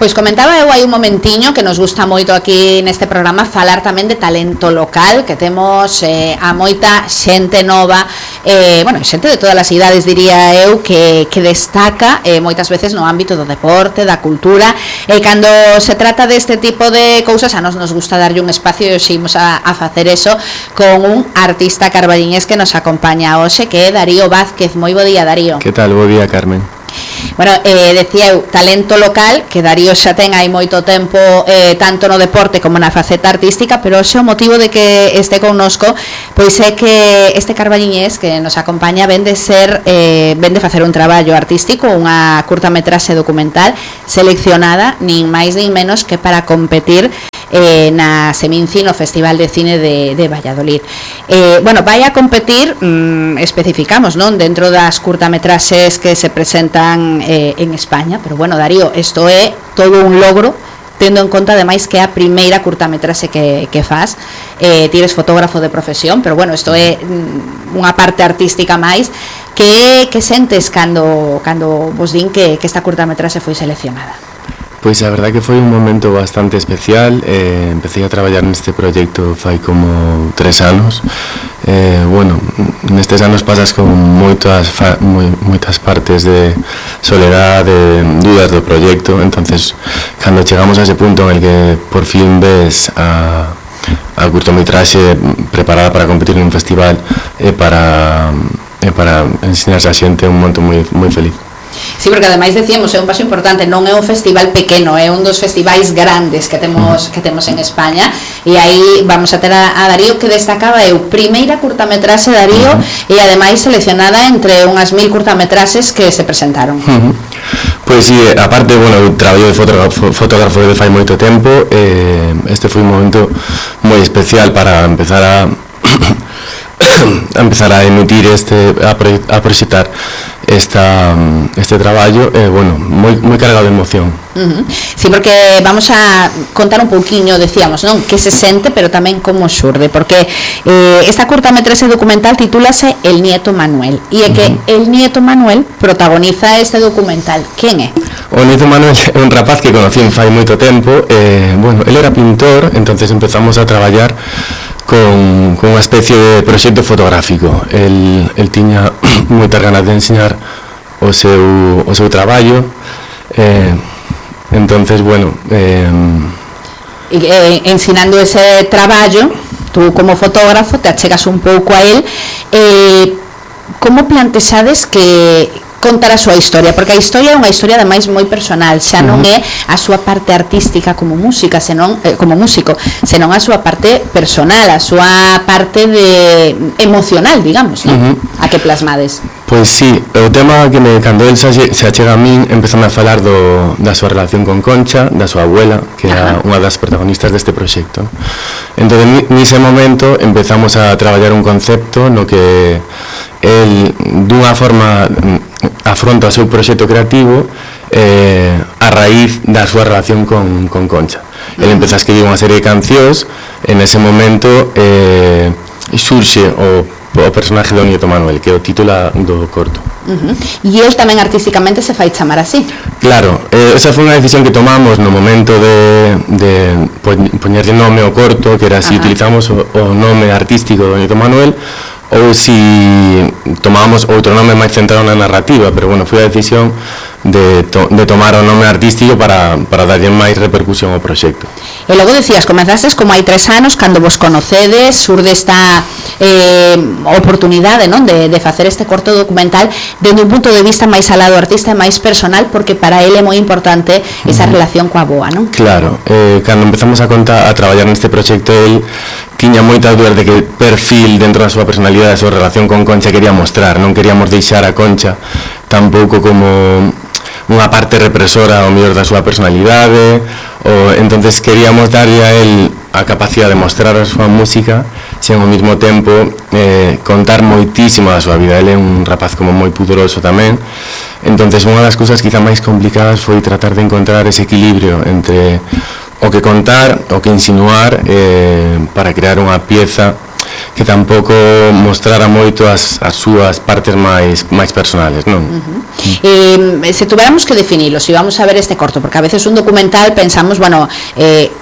Pois comentaba eu hai un momentiño que nos gusta moito aquí neste programa falar tamén de talento local, que temos a moita xente nova, xente de todas as idades diría eu, que destaca moitas veces no ámbito do deporte, da cultura, e cando se trata deste tipo de cousas a nos gusta darlle un espacio e ximos a facer eso con un artista carballiñés que nos acompaña hoxe, que é Darío Vázquez. Moi bo día, Darío. Que tal? Bo día, Carmen. Bueno, decía eu, talento local, que Darío xa ten hai moito tempo tanto no deporte como na faceta artística, pero hoxe o motivo de que este connosco pois é que este carballiñés que nos acompaña ven de facer un traballo artístico, unha curtametraxe documental seleccionada nin máis nin menos que para competir na Seminci no Festival de Cine de Valladolid. Vai a competir, especificamos, non, dentro das curtametraxes que se presentan en España, pero bueno, Darío, isto é todo un logro, tendo en conta ademais que é a primeira curtametraxe que faz. Ti eres fotógrafo de profesión, pero bueno, isto é unha parte artística máis. Que sentes cando vos din que esta curtametraxe foi seleccionada? Pois a verdade que foi un momento bastante especial. Empecé a traballar neste proxecto fai como 3 anos. Nestes anos pasas con moitas partes de soledad, de dudas do proxecto. Entonces, cando chegamos a ese punto en el que por fin ves a curtometraxe preparada para competir en un festival para ensinarse a xente, un momento moi feliz. Sí, porque ademais decíamos, é un paso importante, non é un festival pequeno, é un dos festivais grandes que temos en España, e aí vamos a ter a Darío, que destacaba eu, primeira curtametraxe, Darío, e ademais seleccionada entre unhas 1000 curtametraxes que se presentaron. Pois sí, aparte, eu traballo de fotógrafo de fai moito tempo, este foi un momento moi especial para empezar a emitir a proxectar este traballo, moi cargado de emoción. Sí, porque vamos a contar un pouquiño, decíamos, non, que se sente, pero tamén como xurde, porque esta curtametraxe documental titúlase El Nieto Manuel, e é que el Nieto Manuel protagoniza este documental. Quen é? O Nieto Manuel é un rapaz que conocí fai moito tempo. Él era pintor, entonces empezamos a traballar con unha especie de proxecto fotográfico. El tiña moitas ganas de enseñar o seu traballo, entonces, ensinando ese traballo, tú como fotógrafo te achegas un pouco a él. Como plantexades que contar a súa historia, porque a historia é unha historia ademais moi personal, xa non é a súa parte artística como música, como músico, senón a súa parte personal, a súa parte emocional, digamos, non? A que plasmades. Pois sí, o tema que cando el se achega a min, empezame a falar da súa relación con Concha, da súa abuela, que é unha das protagonistas deste proxecto. Entón, nese momento empezamos a traballar un concepto no que el dunha forma afronta o seu proxecto creativo a raíz da súa relación con Concha. Ele empeza a escribir unha serie de cancións, en ese momento surxe o personaje do Nieto Manuel, que é o título do corto. E el tamén artísticamente se fai chamar así. Claro, esa foi unha decisión que tomamos no momento de poñerlle nome ao corto, que era si utilizamos o nome artístico do Nieto Manuel ou si tomábamos outro nome máis centrado na narrativa, pero foi a decisión de tomar o nome artístico para darlle máis repercusión ao proxecto. E logo decías, comenzastes como hai 3 anos, cando vos conocedes, surde esta oportunidade, non, de facer este corto documental dende un punto de vista máis alado artista e máis personal, porque para ele é moi importante esa relación coa boa, non? Claro, cando empezamos a traballar neste proxecto, el tiña moitas dúas de que perfil dentro da súa personalidade, da súa relación con Concha quería mostrar. Non queríamos deixar a Concha tampouco como unha parte represora ao mellor da súa personalidade, entonces queríamos darlle a él a capacidade de mostrar a súa música sen ao mesmo tempo contar moitísimo da súa vida. Ele é un rapaz como moi pudoroso tamén, entonces unha das cousas quizá máis complicadas foi tratar de encontrar ese equilibrio entre o que contar, o que insinuar, para crear unha pieza que tampouco mostrara moito as súas partes máis personales, non? Se tuviéramos que definirlo, si vamos a ver este corto, porque a veces un documental pensamos, bueno,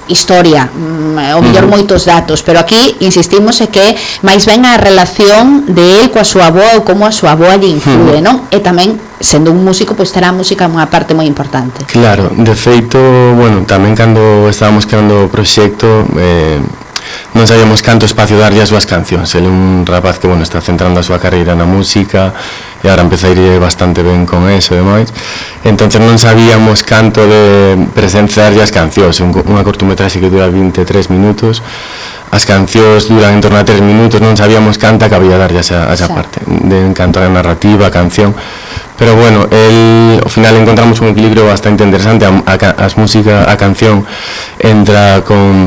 historia, o mellor moitos datos, pero aquí insistimos que máis ben a relación de él coa súa avoa ou como a súa avoa lle influe, non? E tamén, sendo un músico, pois terá a música unha parte moi importante. Claro, de feito, bueno, tamén cando estábamos creando o proxecto, non sabíamos canto espacio darlle as súas cancións. Ele é un rapaz que, bueno, está centrando a súa carreira na música e agora empeza a ir bastante ben con eso e demais. Entonces non sabíamos canto de presenciarlle as cancións. Unha cortometraxe que dura 23 minutos, as cancións duran en torno a 3 minutos, non sabíamos canta que había darlle a esa parte de canto a narrativa, a canción. Pero bueno, ao final encontramos un equilibrio bastante interesante. A canción entra con